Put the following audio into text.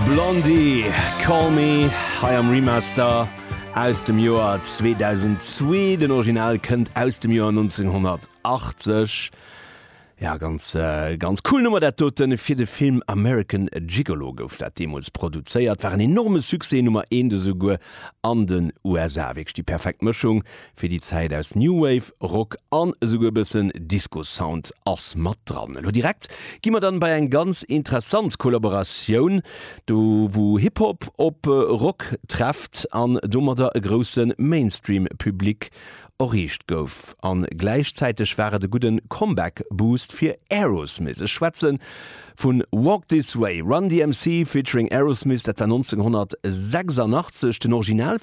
Blondie, Call Me, hei am Remaster aus dem Joer 2002. Den Original kënnt aus dem Joer 1980. Ja, ganz, ganz cool Nummer dat doten. Fir de Film American Gigolo gouf dat deemools produzéiert. War en enorme Succès, Nummer eent esouguer an den USA. Wierklech déi perfekt Mëschung fir déi Zäit aus New Wave, Rock an esouguer e bëssen Disco-Sound ass mat dran. Elo direkt gi mer dann bei eng ganz interessant Kollaboratioun, do wou Hip-Hop op Rock trefft an domadder e grousse Mainstream-Public erreecht gouf. An gläichzäiteg war et e gudden Comeback-Boost fir Aerosmith. Ech schwätzen vun Walk This Way, Run DMC featuring Aerosmith, dat war 1986. Den Original.